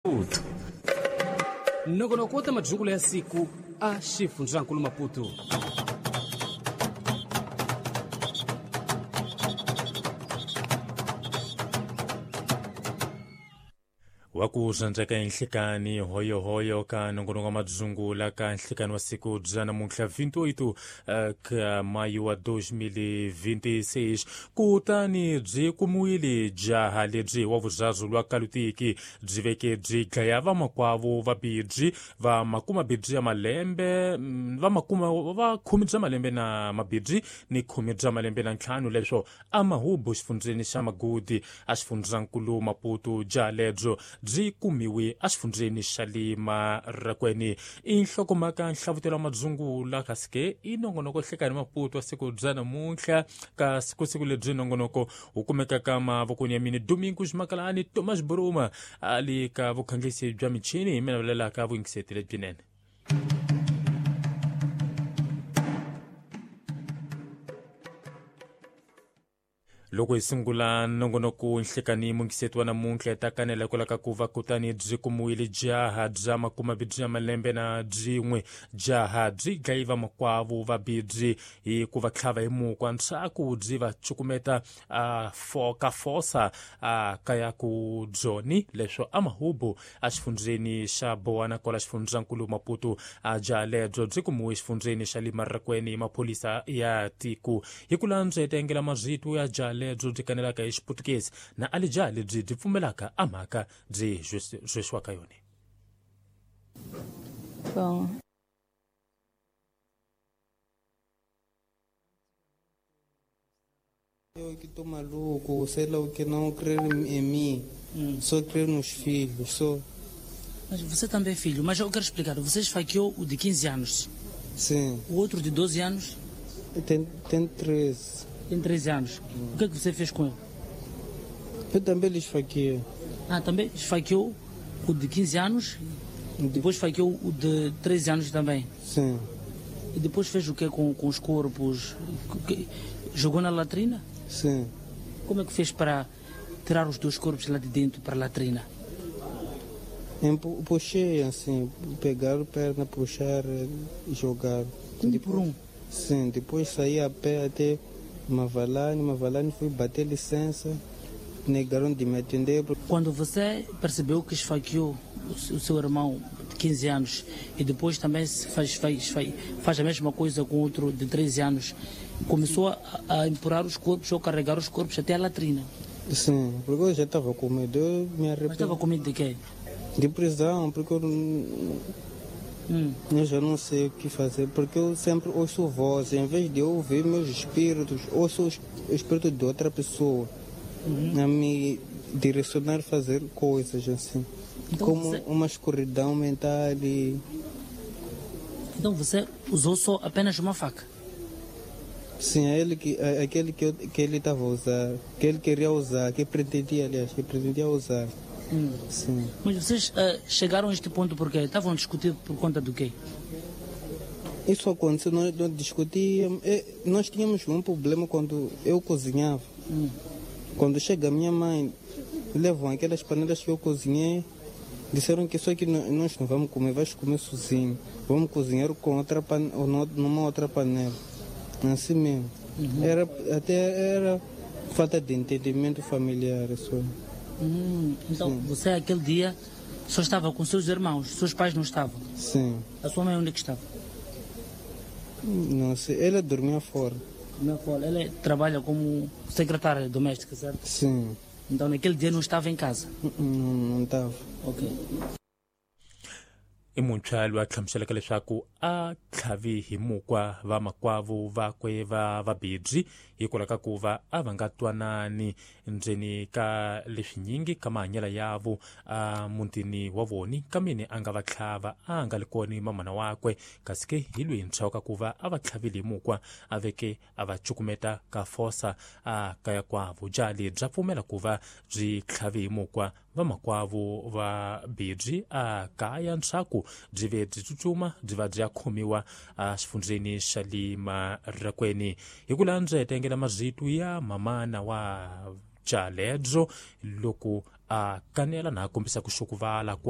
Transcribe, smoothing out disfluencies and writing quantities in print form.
Maputo. Nongonoko wa ta madzungulo ya siku a xifundzankulu Maputo. Wa ku zandza enhlekani hoyohoyo ka nongonoko wa madzungula ka nhlekani wa siku bya namuntlha 28 ka mayu wa 2026. Kutani byi kumiwile jaha lebyi wa vuzazu lwa kalutiki byi veke byi dlaya vamakwavo va bibyi va makuma bibyi ya malembe va makuma va khume bya malembe na mabibyi ni khume bya malembe na ntlhanu, leswo a mahubu xifundzeni xa Magudi a xifundzankulu Maputo. Jaha lebyo byi kumiwe exifundzeni xa le Marakweni. I nhlokomhaka nhlavutelo wa madzungula, kasi ke i nongonoko hlekani Maputo wa siku bya namuntlha. Ka siku siku lebyi nongonoko wu kumeka ka mavokweni ya mini Domingos Makalani Thomas Buruma a le ka vukhanglisi bya michini hi mina vulelaka vuyingiseti lebyinene. Loko hi sungula nongonoko nhlekani mungiseti wa namuntlha ta kanela hikwalaho ka ku va kutani byi kumiwile jaha bya makumabibyi ya malembe na byin'we. Jaha byi dlayi vamakwavo va bibyi hi ku va tlhava hi mukwa ntshaku byi va cukumeta ka fosa a kaya ku byoni, leswo a mahubu a xifundzeni xa Bowana kwala xifundzankulu Maputo. A jaha lebyo byi kumiwe xifundzeni xa le Marakweni hi maphorisa ya tiko. Hi ku landza hi tengela mazito ya jaha lebyo byi kanelaka hi Xiputukezi na alija lebyi byi pfumelaka a mhaka byi zwesiwaka yona. Bom, Eu que tô maluco, sei lá o que, não crer em mim, só crer nos filhos, só. Mas você também é filho, mas eu quero explicar. Você esfaqueou o de 15 anos. Sim. O outro de 12 anos? Tem 13. Tem 13 anos. O que é que você fez com ele? Eu também lhe esfaqueei. Ah, também esfaqueou o de 15 anos, depois esfaqueou o de 13 anos também? Sim. E depois fez o que com os corpos? Jogou na latrina? Sim. Como é que fez para tirar os dois corpos lá de dentro para a latrina? Puxei assim, pegaram perna, puxar e jogar. Um por um? Sim, depois saí a pé até Mavalane, fui bater licença, negaram de me atender. Quando você percebeu que esfaqueou o seu irmão de 15 anos e depois também faz a mesma coisa com outro de 13 anos, começou a empurrar os corpos ou carregar os corpos até a latrina? Sim, porque eu já estava com medo, eu me arrependi. Mas estava com medo de quê? De prisão, porque eu já não sei o que fazer, porque eu sempre ouço voz, em vez de eu ouvir meus espíritos, ouço o espírito de outra pessoa a me direcionar a fazer coisas assim, então como você... uma escuridão mental. E... Então você usou só apenas uma faca? Sim, aquele que ele estava a usar, que ele queria usar, que pretendia, aliás, que pretendia usar. Sim. Mas vocês chegaram a este ponto porque estavam a discutir por conta do quê? Isso aconteceu, nós discutíamos. Nós tínhamos um problema quando eu cozinhava. Quando chega a minha mãe, levam aquelas panelas que eu cozinhei, disseram que só que nós não vamos comer, vais comer sozinho. Vamos cozinhar com outra numa outra panela. Assim mesmo. Era falta de entendimento familiar. Só. Então, sim. Você aquele dia só estava com seus irmãos, seus pais não estavam? Sim. A sua mãe onde é que estava? Não sei, ela dormia fora. Dormia fora. Ela trabalha como secretária doméstica, certo? Sim. Então naquele dia não estava em casa? Não estava. Ok. I muntshwa loyi a hlamuselaka leswaku a tlhavi hi mukwa vamakwavo vakwe va vabibyi hikwalaho ka ku va a va nga twanani ndzeni ka leswinyingi ka mahanyelo yavo a mutini wa voni, kameni a nga va tlhava a nga li kona mamana wakwe, kasi ke hi loyi ntshwa ka ku va a va tlhavile hi mukwa a veke a va cukumeta ka fosa a kaya kwavo. Jaha lebyi bya pfumela ku va byi tlhavi hi mukwa vamakwavo va bibyi a kaya ntshaku byi ve byi tsutsuma byi va byi ya khomiwa a xifundzeni xa le Marakweni. Hi ku landza hi tengela mazito ya mamana wa jaha lebyo loko a kanela na a kombisa ku xokuvala kwa